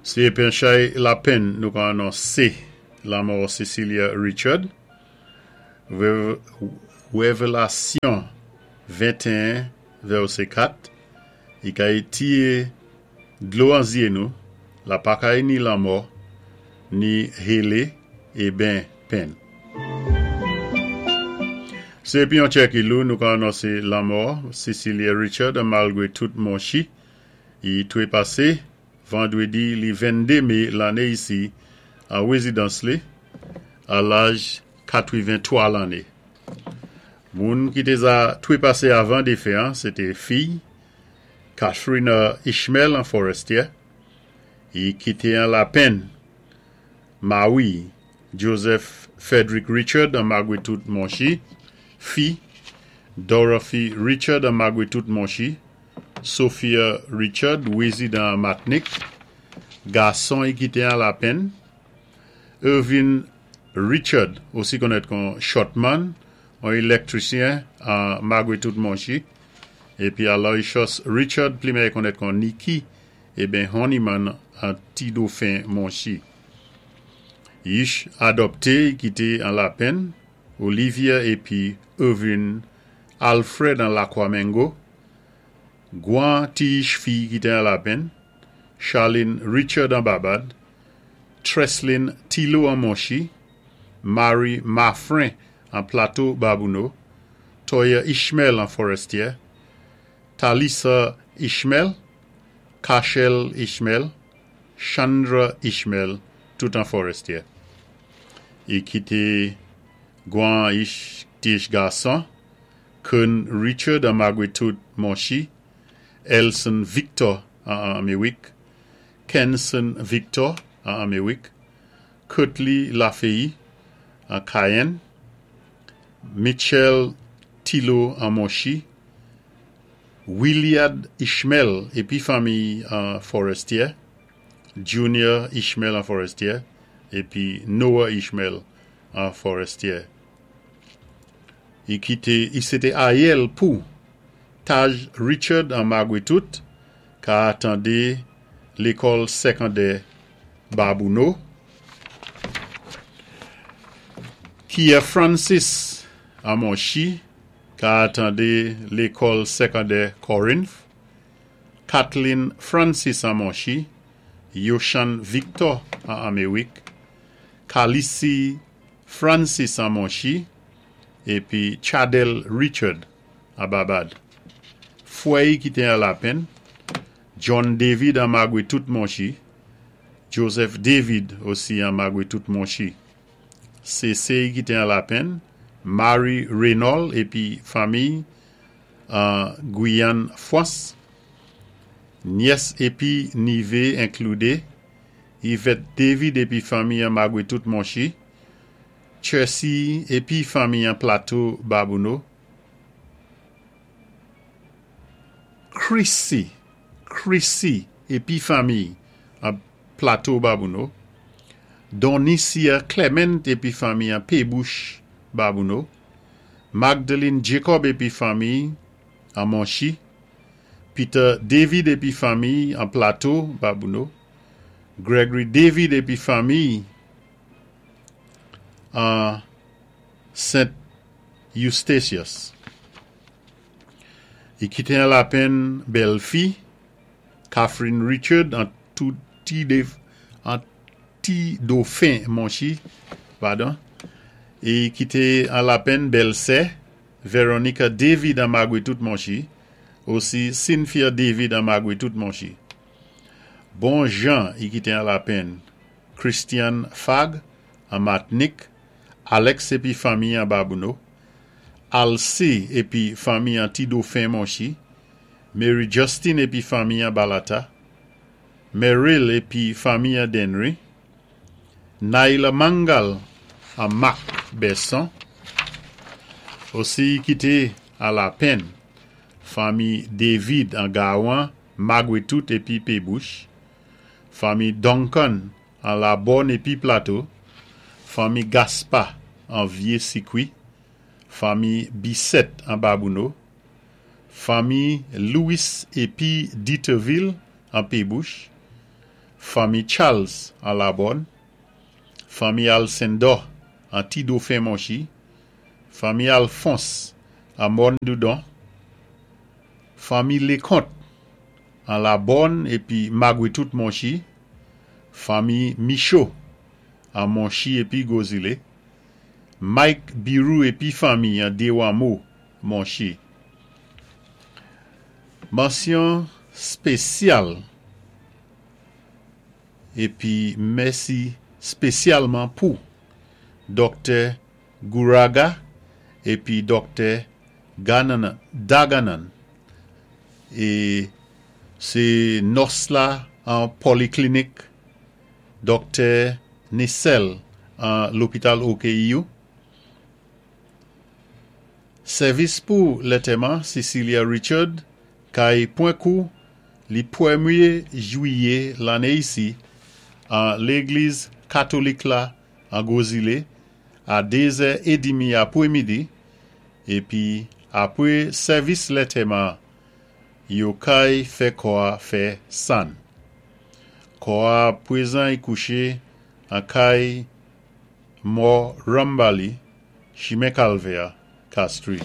Sé épi an chay lapenn nou ka anonsé lanmò Cecilia Richard, Wévélasyon 21 vèsé 4, I kay tiyé dlo an zyé nou, la pa kay ni lanmò, ni hélé eben penn. Sé épi an tchè ki lou nou ka anonsé lanmò Cecilia Richard malgwé tout Monchi, i twépasé vandwédi li 22 mé lanné isi an wézidans li a laj 83 lanné. Moun ki té za twépasé avan défen an sé té fiy Catherina Ishmael an Fòrèstyè, i kité an lapenn mawi Joseph Frederick Richard an magwé tout Monchi, fi Dorothy Richard an magwé tout Monchi, Sophia Richard wézidan an Matnik, gason i kité an lapenn Irvin Richard osi konnèt kon Shortman, on élèktrisyen an magwé tout Monchi, épi Aloysius Richard pli mèyè konnèt kon Nicky eben Honeyman an Ti Dofen Monchi. Yich adòpté i kité an lapenn Olivia épi Irvin Alfred an Lakwa Mengo, gwan ti yich fi kité an lapenn, Charlene Richard an Babad, Treslin Tilo an Monchi, Marie Marfrin an Plato Babouno, Toya Ishmael an Fòrèstyè, Talisa Ishmael, Kachel Ishmael, Chandra Ishmael, tout an Fòrèstyè. I kité gwan yich ti yich gason, Kern Richard an magwé tout Monchi, Elson Victor an Anméwik, Kenson Victor an Anméwik, Kurtley Lafeuillie an Cayenne, Mitchell Tilo an Monchi, Williard Ishmael épi fanmiy an Fòrèstyè, Junior Ishmael an Fòrèstyè, épi Noah Ishmael an Fòrèstyè. I kité i sé té ayèl pou Taj Richard an magwé tout ka atandé lékòl sékondè Babouno. Kia Francis an Monchi ka atandé lékòl sékondè Corinth. Kathleen Francis an Monchi, Yoshan Victor an Anméwik, Khalissi Francis an Monchi, épi Chadel Richard an Babad. Fwè-y kité an lapenn, John David an magwé tout Monchi, Joseph David osi an magwé tout Monchi. Sésé'y kité an lapenn, Mary Reynolds épi fanmiy an Gwiyann Fwans. Nyès épi nivé enkloudé, Yvette David épi fanmiy an magwé tout Monchi, Chessy épi fanmiy an Plato Babouno, Chrissy Chrissy épi fanmiy an Plato Babouno, Donicia Clement épi fanmiy an Pébouch Babouno, Magdalene Jacob épi fanmiy an Monchi, Peter David épi fanmiy an Plato Babouno, Gregory David épi fanmiy an Sent Eustatius. I kité an lapenn bèlfi, Catherine Richard an an Ti Dofen Monchi, padon, i kité an lapenn bèlsè, Veronica David an magwé tout Monchi, osi Cynthia David an magwé tout Monchi. Bon jan i kité an lapenn, Christian Fag an Matnik, Alex épi fanmiy an Babouno, Alcé épi fanmiy an Ti Dofen Monchi, Mary Justin épi fanmiy an Balata, Meryl épi fanmiy an Dennery, Naila Mangal an Mak Bèson, osi i kité an lapenn, fanmiy David an Gawan, Magwé tout épi Pébouch, fanmiy Duncan an Labòn épi Plato, fanmiy Gaspa an Vyé Sikwi, fanmiy Bisset an Babouno, fanmiy Louis épi Diterville an Pébouch, Fanmi Charles an Labòn, Fanmi Alcindor an Ti Dofen Monchi, Fanmi Alphonse an Mòn Doudon, Fanmi Leconte an Labòn épi Magwetout Monchi, Fanmi Michaud an Monchi épi Gwozilé, Mike Birou épi fanmi an Dewamo Monchi. Mansyon spésyal épi mèsi spésyalman pou Doktè Gouraga épi Doktè Daganan é sé nòs la an Poliklinik Doktè Nissel an Lopital OKEU. Sèvis pou lantèman Cecilia Richard kay pwan kou li pwémyé jwiyé lanné isi an Légliz Katolik la an Gwozilé a 2 zè édmi apwémidi épi apwé sèvis lantèman yo kay fè kò-a fè sann. Kò-a pwézan y kouché an kay mò Rambali, chimen Kalvè, Castries.